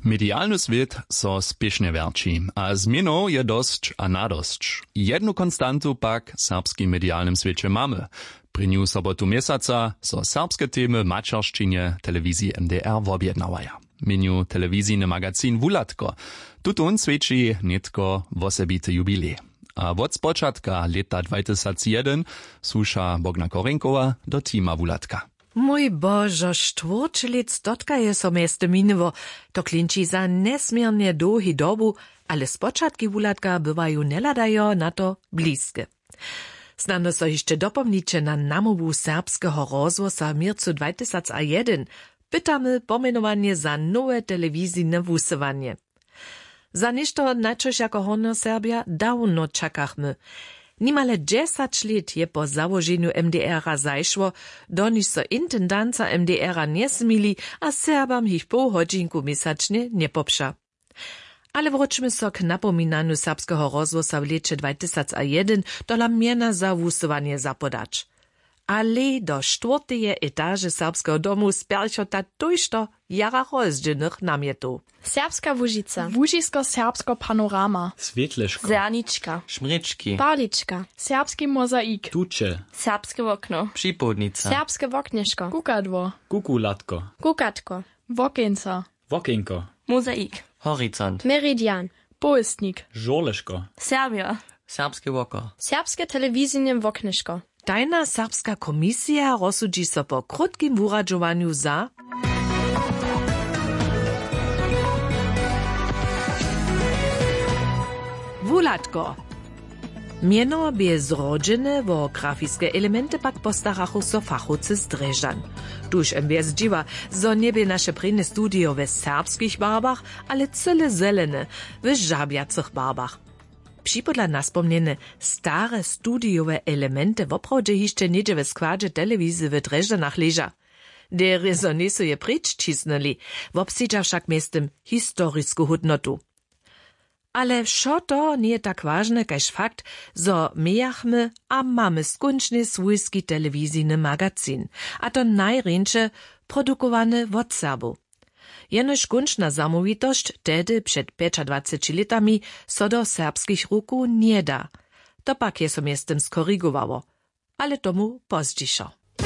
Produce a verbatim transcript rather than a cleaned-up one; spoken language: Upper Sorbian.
Medialny swět so spěšnje wjerći, a změnow je dosć a nadosć. Jednu konstantu pak w serbskim medialnym swěće mamy. Prěnju sobotu měsaca so serbske temy w maćeršćinje telewiziji MDR wobjednawaja. Měnju telewizijny magazin Wuhladko. Tutón swjeći nětko wosebity jubilej. A wot spočatka lěta dwajtysacjedyn słuša Bogna Korinkowa do tima Wuhladka. Mój božo, štwórćelět stotkaje so mjeztym miniło. To klinči za njesměrnje dołhi dobu, ale spočatki Wuhladka bywajo njehladajo na to bliske. Snano so hišće dopomniće na namołwu serbskeho rozhłosa w měrcu dwajtysacjedyn. Pytamy pomjenowanje za nowe telewizijne wusyłanje. Za něšto, na čož jako Hornjoserbja dawno čakachmy. Nimale dźesać lět je po załoženju MDR-a zašło, doniž so intendanca MDR-a njesmili a Serbam jich poł hodźinku měsačnje njepopša. Ale wróćmy so k napominanju serbskeho rozhłosa w lěće dwajtysacjedyn, tola mjena za wusyłanje zapodać. Ale do štwórteje etaže serbskeho domu spjerchota tójšto jara rozdźělnych namjetow. Serbska Łužica. Łužisko, serbsko panorama. Swětleško. Zernička. Šmrěčki. Parlička. Serbski mozaik. Tuće. Serbske wokno. Připołdnica. Serbske woknješko. Kukadło. Kukulatko. Kukatko. Wokeńca. Wokeńko. Mozaik. Horizont. Meridian. Powěstnik. Žurleško. Serbja. Serbske woko. Serbske telewizijne woknješko. Tajna serbska komisija rozsudźi so po krótkim wuradźowanju za Wuhladko. Mjeno bě zrodźene, wo grafiske elementy pak postarachu so fachowcy z Drježdźan. Tuž M B S dźiwa, zo njebě naše prěnje studio we serbskich barbach, ale cyle zelene, w žabjacych barbach. Připodla naspomnjene stare studijowe elementy woprawdźe hišće něhdźe we składźe telewizije w Drježdźanach leža. Derje zo njejsu je preč ćisnyli, wobsedźa wšak mjeztym historisku hódnotu. Ale wšo to njeje tak wažne kaž fakt, zo mějachmy a mamy skónčnje swójski telewizijny magazin, a to najrjeńše produkowany wot Serbow. Jenož kónčna zamołwitosć tehdy před pjećadwaceći lětami so do serbskich rukow njeda. To pak je so mjeztym skorigowało, ale tomu pozdźišo.